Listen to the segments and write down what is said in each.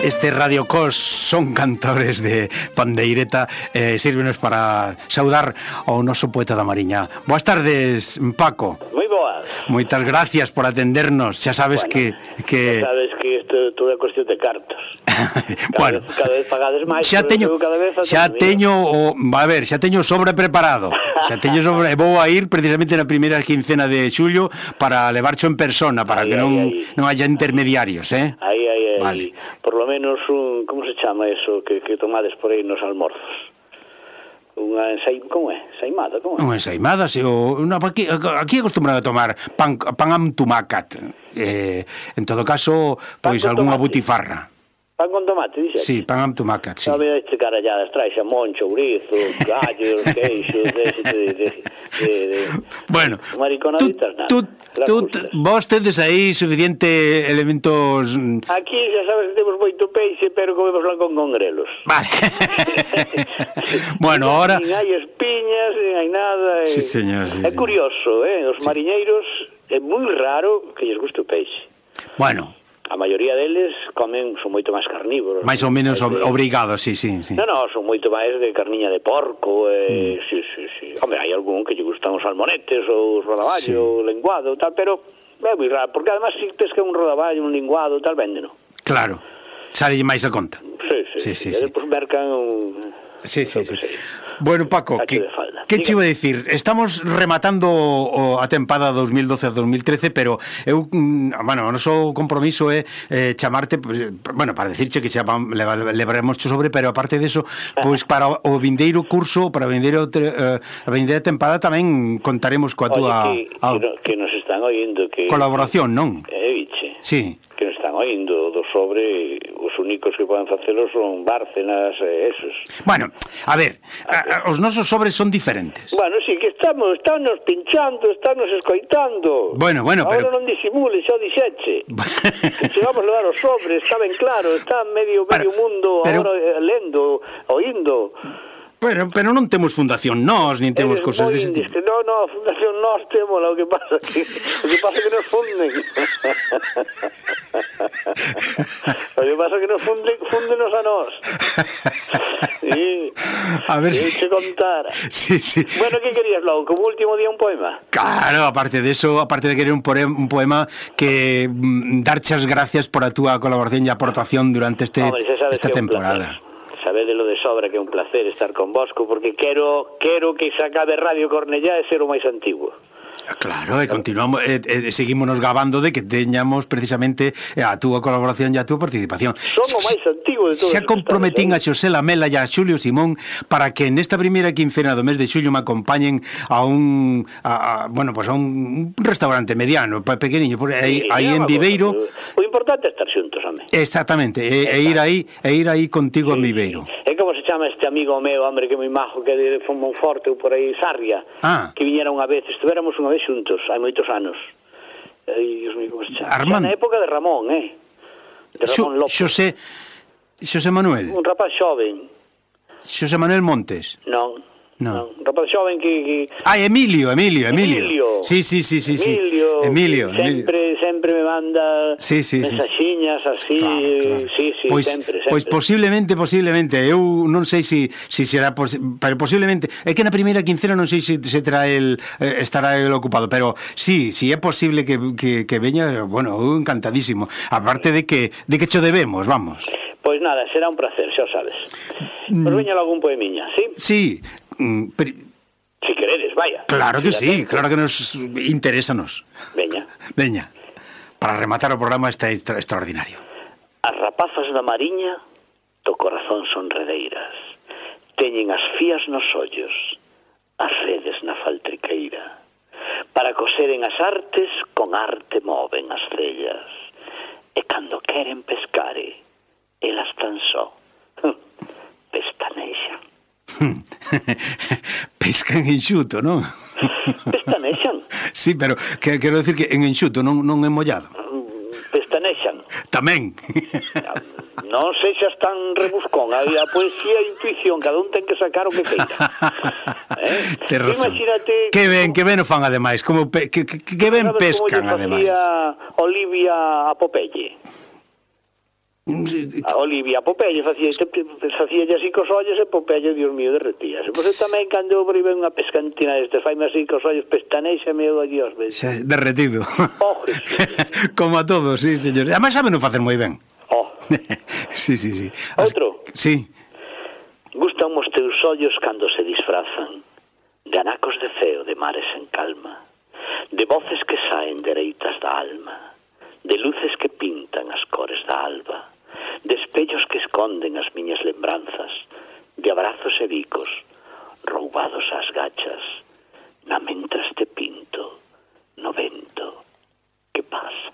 Este Radio Cos son cantores de pandeireta, sírvenos para saudar ao noso poeta da Mariña. Boas tardes, Paco. Moi boas. Moitas gracias por atendernos. Xa sabes bueno, que xa sabes que isto todo é cuestión de cartos. Bueno, cada vez pagades máis. Xa teño o sobre preparado. Vou a ir precisamente na primeira quincena de xullo para levarcho en persona, para que non haya intermediarios, Aí, vale. Por lo menos como se chama eso que tomades por aí nos almorzos? Unha como é? Ensaimada, como é? Unha ensaimada, aquí acostumbrado a tomar pan amb tomàquet. En todo caso, pois algunha butifarra. Pan con tomate, dixe? Sí, pan amb tomàquet, sí. Non me este caralladas, trae xamón, chourizo, gallos, queixos, Bueno, mariconaditas, nada. Vos tedes aí suficiente elementos... Aquí xa sabes que temos moito peixe, pero comemos lá con grelos. Vale. Bueno, ahora... Nin hai espiñas, nin hai nada. Sí, señor, sí, é curioso, os mariñeiros é moi raro que lles guste o peixe. Bueno... A maioría deles son moito máis carnívoros. Mais ou menos obrigados, sí. Non, son moito máis de carniña de porco, sí. Hombre, hai algún que lle gustan os salmonetes, ou os rodaballo, o lenguado, tal, pero é moi raro, porque además se pesca un rodaballo, un linguado, tal, véndeno. Claro, sale máis a conta. Sí. E depois mercan Sí. Bueno, Paco, que che iba a dicir? Estamos rematando a tempada 2012-2013, pero eu, o noso compromiso é chamarte, para decirche que xa levaremos sobre, pero aparte deso, pois para o vindeiro curso, para a vindeira tempada tamén contaremos coa túa que nos están oindo que colaboración, non? Biche. Sí. Que nos están oindo do sobre, os únicos que poden facelo son Bárcenas e esos. Bueno, a ver, os nosos sobres son diferentes. Bueno, sí, que estamos pinchando, estamos escoitando. Bueno, agora pero... non disimule, xa dixeche. Se vamos levar os sobres, está ben claro, está medio mundo agora lendo, oindo. Pero non temos Fundación Nós, nin temos cosas dese tipo. No, Fundación Nós temos, o que pasa que nos funden. O que pasa que nos fundenos a nós. A ver si te contara. Sí. Bueno, que querías logo? Como último día un poema? Claro, aparte de eso, aparte de querer un poema, que darche as gracias por a túa colaboración e aportación durante esta temporada. Sabedelo de sobra que é un placer estar con vosco, porque quero que se acabe Radio Cornellá e ser o máis antigo. Claro, e continuamos, seguímonos gabando de que teñamos precisamente a túa colaboración e a túa participación. Son o máis antigo de todos. Xa comprometín a Xosé Lamela e a Xulio Simón para que nesta primeira quincena do mes de xullo me acompañen a un restaurante mediano, pequeniño, aí en Viveiro. O importante é estar xuntos, home. Exactamente, e ir aí contigo a Viveiro. É como se chama este amigo meu, hombre, que é moi majo, que é de Monforte ou por aí, Sarria, que viñera unha vez, estuveramos unha vez xuntos, hai moitos anos. Dios mío, como se chama? Armando. Na época de Ramón, de Ramón López. Xosé Manuel. Un rapaz xoven. Xosé Manuel Montes. Non. Un rapaz xoven que... Emilio. Sí. Emilio. Sempre me manda mensaxiñas así, claro. Sí, sempre. Pois posiblemente, eu non sei se será, pero posiblemente, é que na primeira quincena non sei se estará el ocupado, pero sí é posible que veña, bueno, encantadísimo, aparte de que cho debemos, vamos. Pois nada, será un placer, xa sabes. Pois veña algún poemiña, sí? Sí, si queredes, vaya. Claro que sí, claro que nos interésanos. Veña. Para rematar o programa está extraordinario. As rapazas da Mariña do corazón son redeiras, teñen as fías nos ollos, as redes na faltriqueira. Para coseren as artes, con arte moven as cellas, e cando queren pescare, elas tan só pestaneixan. Pescan enxuto, non? Pestanexan. Sí, pero quero decir que en enxuto, non en mollado. Pestanexan. Tamén. Non sexas tan rebuscón. A poesía e a intuición, cada un ten que sacar o que queira. Te razón. Imagínate... Que ben o fan, ademais. Que ben pescan, ademais. Olivia a Popeye. A Olivia, a Popeye facía así cos ollos e Popeye, Dios mío, derretíase. Pois tamén cando eu ve unha pescantina deste, faime así cos ollos, pestanexa, meu Dios, derretido. Como a todos, sí, señor. Además saben non facer moi ben. Sí. Outro? Sí. Gustan os teus ollos cando se disfrazan de anacos de ceo, de mares en calma, de voces que saen dereitas da alma, de luces que pintan as cores da alba, de espellos que esconden as miñas lembranzas, de abrazos e bicos roubados ás gachas, na mentras te pinto no vento. Que pasa?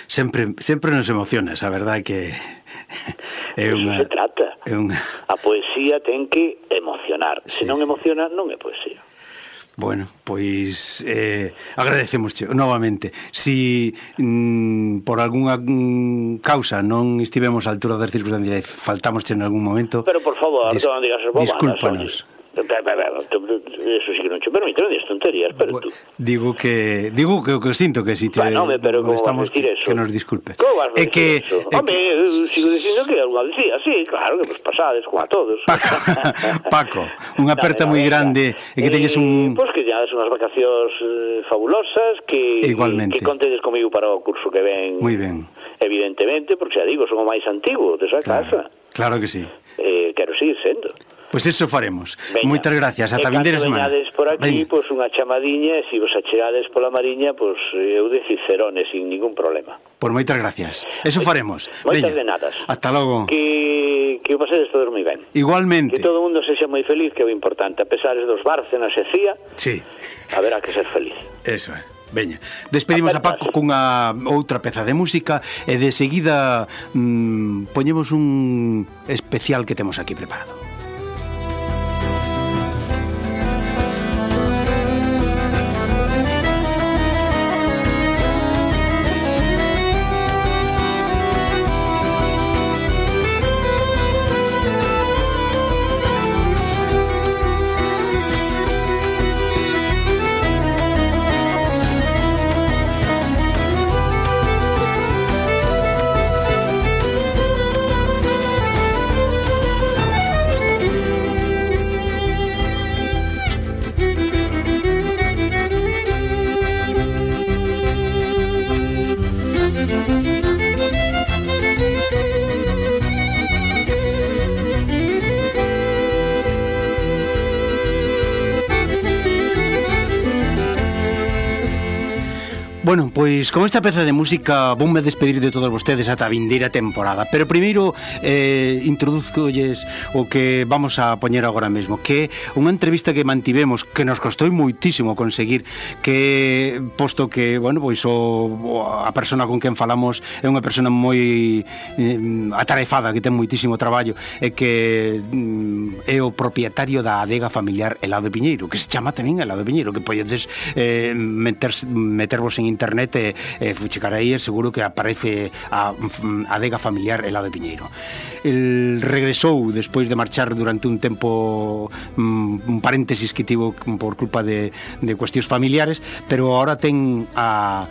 Sempre nos emocionas, a verdade que Eso se trata. A poesía ten que emocionar. Se non emociona, non é poesía. Bueno, pois agradecemos novamente. Si por algunha causa non estivemos á altura das circunstancias, faltamos en algún momento, pero por favor, non digas as bobadas. Discúlpanos. Eso sí que non che permite, non digas tonterías, pero tú. Digo que sinto que si te estamos que nos disculpe. Como vas a decir eso? Home, sigo dicindo que algo decía, sí, claro, que vos pasades como a todos. Paco, unha aperta moi grande e que teñes un... Pois que ya unhas vacacións fabulosas, que contedes comigo para o curso que ven. Moi ben. Evidentemente, porque xa digo, son o máis antigo desa casa. Claro que sí. Quero seguir sendo. Pois eso faremos. Moitas gracias. Ata vindeira semana. E cando veñades por aquí, pois unha chamadiña, e se vos achegades pola Mariña, pois eu de Cicerone, sin ningún problema. Pois moitas gracias. Eso faremos. Moitas de nadas. Hasta logo. Que o pasedes todos moi ben. Igualmente. Que todo o mundo sexa moi feliz, que é o importante. A pesar dos Bárcenas e Cía, sí, haberá que ser feliz. Eso é. Veña, despedimos a Paco cunha outra peza de música e de seguida poñemos un especial que temos aquí preparado. Bueno, pois con esta peza de música voume despedir de todos vostedes ata a vindeira temporada. Pero primeiro introduzcolles o que vamos a poñer agora mesmo, que é unha entrevista que mantivemos, que nos costou moitísimo conseguir, que posto que, bueno, pois a persona con quen falamos é unha persona moi atarefada, que ten moitísimo traballo, e que é o propietario da adega familiar Helado de Piñeiro, que se chama tamén Helado de Piñeiro, que podedes metervos en internet e checar aí, seguro que aparece a adega familiar Helado de Piñeiro. El regresou despois de marchar durante un tempo, un paréntesis que tivo por culpa de cuestións familiares, pero agora ten a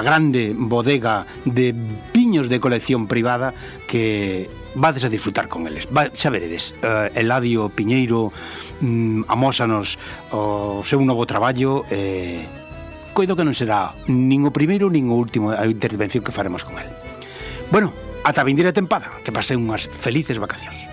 grande bodega de viños de colección privada que vades a disfrutar con eles. Xa veredes, Eladio Piñeiro amósanos o seu novo traballo e coido que non será nin o primeiro nin o último a intervención que faremos con el. Bueno, ata a vindeira tempada, que pasen unhas felices vacacións.